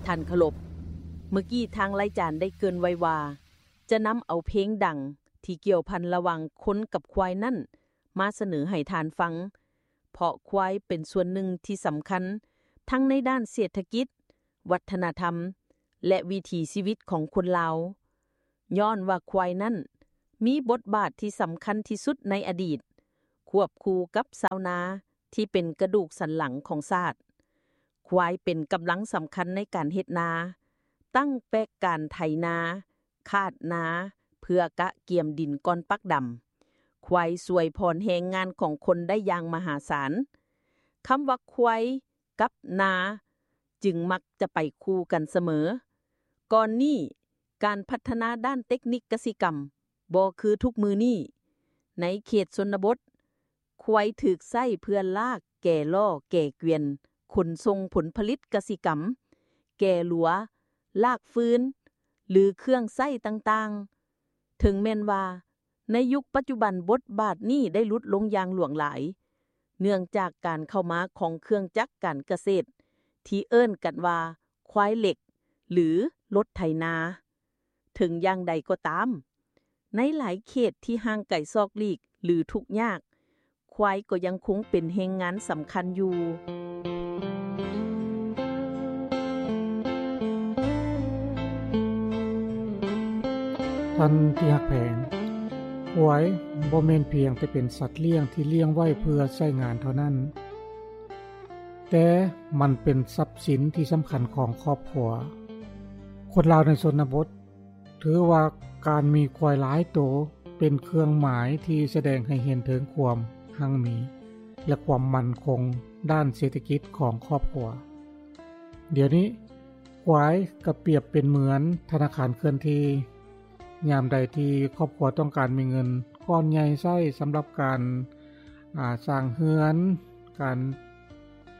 ທ່ານເຄົາລົບ, ເມື່ອກີ້ທາງລາຍການໄດ້ເກີ່ນໄວ້ວ່າ ຈະນຳເອົາເພງດັງທີ່ກ່ຽວພັນລະຫວ່າງຄົນກັບຄວາຍນັ້ນ ມາສະເໜີໃຫ້ທ່ານຟັງ, ເພາະຄວາຍເປັນສ່ວນໜຶ່ງທີ່ສຳຄັນ ທັງໃນດ້ານເສດຖະກິດ, ວັດທະນະທຳ ແລະ ວິຖີຊີວິດຂອງຄົນລາວ. ຍ້ອນວ່າຄວາຍນັ້ນມີບົດບາດທີ່ສຳຄັນທີ່ສຸດໃນອະດີດ, ຄວບຄູ່ກັບຊາວນາທີ່ເປັນກະດູກສັນຫຼັງຂອງຊາດ. ຄວາຍເປັນກຳລັງສຳຄັນໃນການເຮັດນາ, ຕັ້ງແປກການໄຖນາ, ຄາດນາ ເພື່ອກະກຽມດິນກ່ອນປັກດຳ. ຄວາຍຊ່ວຍຜ່ອນແຮງງານຂອງຄົນໄດ້ຢ່າງມະຫາສານ. ຄຳວ່າຄວາຍ ກັບນາຈຶ່ງມັກຈະໄປຄູ່ກັນສະເໝີ. ກ່ອນນີ້, ການພັດທະນາດ້ານເຕັກນິກກະສິກຳບໍ່ຄືທຸກມື້ນີ້. ໃນເຂດຊົນນະບົດ, ຄວາຍຖືກໃຊ້ເພື່ອລາກແກ່ລໍ້ແກ່ກວຽນຂົນສົ່ງຜົນຜະລິດກະສິກຳ, ແກ່ລົວ, ລາກຟືນ ຫຼື ເຄື່ອງໃຊ້ຕ່າງໆ. ເຖິງແມ່ນວ່າ ໃນຍຸກປັດຈຸບັນບົດບາດນີ້ໄດ້ຫຼຸດລົງຢ່າງຫຼວງຫຼາຍ, ເນື່ອງຈາກການເຂົ້າມາຂອງເຄື່ອງຈັກການກະເສດທີ່ເອີ້ນກັນວ່າຄວາຍເຫຼັກ ຫຼື ລົດໄຖນາ. ເຖິງຢ່າງໃດກໍຕາມ, ໃນຫຼາຍເຂດທີ່ຫ່າງໄກສອກຫຼີກ ຫຼື ທຸກຍາກ, ຄວາຍກໍຍັງຄົງເປັນແຮງງານສຳຄັນຢູ່. ທ່ານທີ່ຮັກແພງ, ຄວາຍບໍ່ແມ່ນພຽງແຕ່ເປັນສັດລ້ຽງທີ່ລ້ຽງໄວ້ເພື່ອໃຊ້ງານເທົ່ານັ້ນ, ແຕ່ມັນເປັນຊັບສິນທີ່ສຳຄັນຂອງຄອບຄົວ. ຄົນລາວໃນຊົນນະບົດ ຖືວ່າການມີຄວາຍຫຼາຍໂຕເປັນເຄື່ອງໝາຍທີ່ສະແດງໃຫ້ເຫັນເຖິງຄວາມຮັ່ງມີ ແລະ ຄວາມໝັ້ນຄົງດ້ານເສດຖະກິດຂອງຄອບຄົວ. ດຽວນີ້ຄວາຍກໍປຽບເປັນເໝືອນທະນາຄານເຄື່ອນທີ່. ຍາມໃດທີ່ຄອບຄົວຕ້ອງການມີເງິນກ້ອນໃຫຍ່ໃຊ້ສຳລັບການ ອາ ສ້າງເຮືອນ, ການ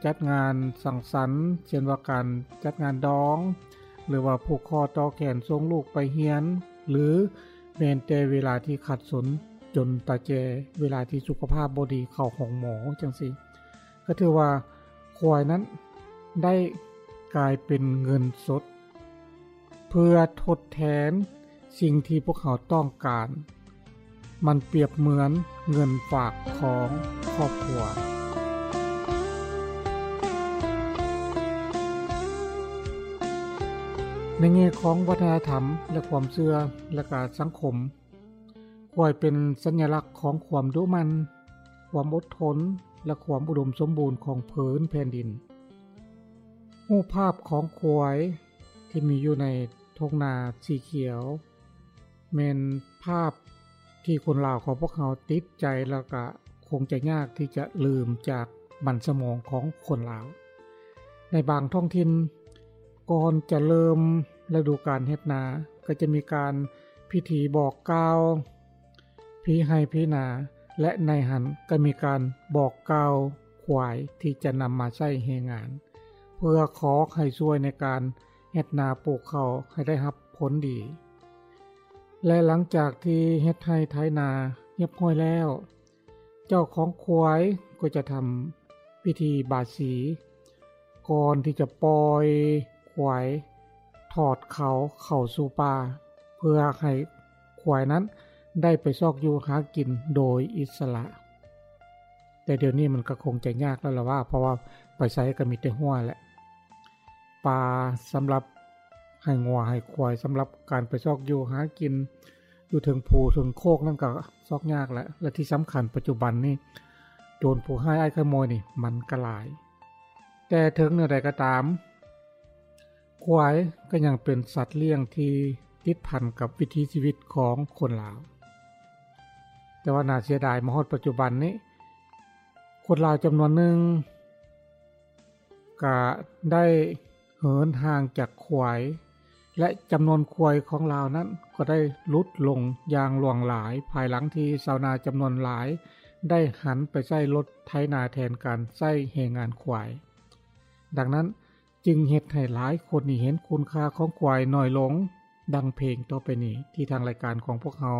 ຈັດງານສັງສັນ, ເຊັ່ນວ່າການຈັດງານດອງ ຫຼືວ່າຜູກຄໍຕໍ່ແຂນສົ່ງລູກໄປຮຽນ ຫຼືແມ່ນແຕ່ເວລາທີ່ຂັດສົນຈົນຕາແຈ, ເວລາທີ່ສຸຂະພາບບໍ່ດີເຂົ້າໂຮງໝໍຈັ່ງຊີ້, ກໍຖືວ່າຄວາຍນັ້ນໄດ້ກາຍເປັນເງິນສົດ ເພື່ອທົດແທນສິ່ງທີ່ພວກເຮົາຕ້ອງການ. ມັນປຽບເໝືອນເງິນຝາກຂອງຄອບຄົວ. ໃນແງ່ຂອງວັດທະນະທຳ ແລະ ຄວາມເຊື່ອ ແລະ ກະສັງຄົມ, ຄວາຍເປັນສັນຍະລັກຂອງຄວາມດຸໝັ່ນ, ຄວາມອົດທົນ ແລະ ຄວາມອຸດົມສົມບູນຂອງພື້ນແຜ່ນດິນ. ຮູບພາບຂອງຄວາຍ ທີ່ມີຢູ່ໃນທົ່ງນາສີຂຽວ ແມ່ນພາບທີ່ຄົນລາວຂອງພວກເຮົາຕິດໃຈ ແລ້ວກະຄົງຈະຍາກທີ່ຈະລືມຈາກບັນສະໝອງຂອງຄົນລາວ. ໃນບາງທ້ອງຖິ່ນ, ກ່ອນຈະເລີ່ມລະດູການເຮັດນາ, ກໍຈະມີການພິທີບອກກ່າວ ຜີໄຮ່ຜີນາ ແລະ ໃນຫັ້ນກໍມີການບອກກ່າວຄວາຍທີ່ຈະນຳມາໃຊ້ແຮງງານ ເພື່ອຂໍໃຫ້ຊ່ວຍໃນການເຮັດນາປູກເຂົ້າໃຫ້ໄດ້ຮັບຜົນດີ. ແລະ ຫຼັງຈາກທີ່ເຮັດໄຮ່ໄຖນາຮຽບຮ້ອຍແລ້ວ, ເຈົ້າຂອງຄວາຍກໍຈະທຳພິທີບາສີ ກ່ອນທີ່ຈະປ່ອຍຄວາຍ ຖອດເຂົາເຂົ້າສູ່ປ່າ ເພື່ອໃຫ້ຄວາຍນັ້ນໄດ້ໄປຊອກຢູ່ຫາກິນໂດຍອິດສະຫຼະ. ແຕ່ດຽວນີ້ມັນກໍຄົງຈະຍາກແລ້ວລະວ່າ ເພາະວ່າໄປໃສກໍມີແຕ່ຮົ້ວແຫຼະ. ປ່າສຳລັບໃຫ້ງົວໃຫ້ຄວາຍ ສຳລັບການໄປຊອກຢູ່ຫາກິນຢູ່ເທິງພູເທິງໂຄກນັ້ນກໍຊອກຍາກແຫຼະ. ແລະ ທີ່ສຳຄັນປັດຈຸບັນນີ້ ໂຈນຜູ້ຮ້າຍອ້າຍຂະໂມຍນີ້ມັນກໍຫຼາຍ. ແຕ່ເຖິງແນວໃດກໍຕາມ, ຄວາຍກໍຍັງເປັນສັດລ້ຽງທີ່ຕິດພັນກັບວິຖີຊີວິດຂອງຄົນລາວ. ແຕ່ວ່າໜ້າເສຍດາຍ, ມາຮອດປັດຈຸບັນນີ້, ຄົນລາວຈຳນວນໜຶ່ງກໍໄດ້ເຫີນຫ່າງຈາກຄວາຍ ແລະ ຈຳນວນຄວາຍຂອງລາວນັ້ນກໍໄດ້ຫຼຸດລົງຢ່າງຫຼວງຫຼາຍ ພາຍຫຼັງທີ່ຊາວນາຈຳນວນຫຼາຍໄດ້ຫັນໄປໃຊ້ລົດໄຖນາແທນການໃຊ້ແຮງງານຄວາຍ. ດັ່ງນັ້ນຈຶ່ງເຮັດໃຫ້ຫຼາຍຄົນນີ້ເຫັນຄຸນຄ່າຂອງຄວາຍໜ້ອຍລົງ, ດັ່ງເພງຕໍ່ໄປນີ້ທີ່ທາງລາຍການຂອງພວກເຮົາ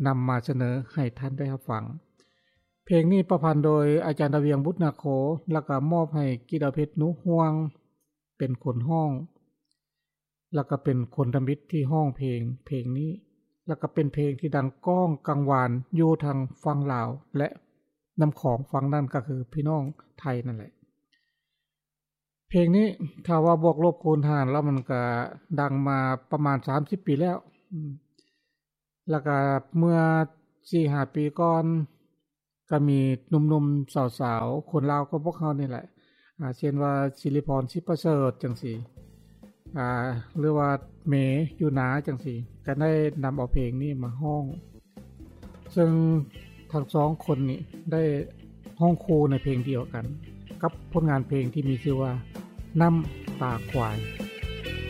ນຳມາສະເໜີໃຫ້ທ່ານໄດ້ຮັບຟັງ. ເພງນີ້ປະພັນໂດຍອາຈານດາວຽງ ບຸດນາໂຄ ແລ້ວກໍມອບໃຫ້ກິດດາວເພັດ ໜູຮ່ວງ ເປັນຄົນຮ້ອງ. ແລ້ວກໍເປັນຄົນທຳອິດທີ່ຮ້ອງເພງ ເພງນີ້ ແລ້ວກໍເປັນເພງທີ່ດັງກ້ອງກັງວານຢູ່ທາງຝັ່ງລາວ ແລະ ນ້ຳຂອງຝັ່ງນັ້ນກໍຄືພີ່ນ້ອງໄທນັ້ນແຫຼະ. ເພງນີ້ຖ້າວ່າບວກລົບຄູນຫານແລ້ວ ມັນກໍດັງມາປະມານສາມສິບປີແລ້ວ. ອືມ ແລ້ວກໍເມື່ອສີ່ຫ້າປີກ່ອນ ກໍມີໜຸ່ມໆ ສາວໆ ຄົນລາວຂອງພວກເຮົານີ້ແຫຼະ ອາ ເຊັ່ນວ່າ ສິລິພອນ ສິປະເສີດ ຈັ່ງຊີ້ ອາ ຫຼືວ່າ ເມ ຢູ່ນາ ຈັ່ງຊີ້ ກໍໄດ້ນຳເອົາເພງນີ້ມາຮ້ອງ ເຊິ່ງທັງສອງຄົນນີ້ໄດ້ຮ້ອງຄູ່ໃນເພງດຽວກັນ ກັບຜົນງານເພງທີ່ມີຊື່ວ່າ ນ້ຳຕາຄວາຍ.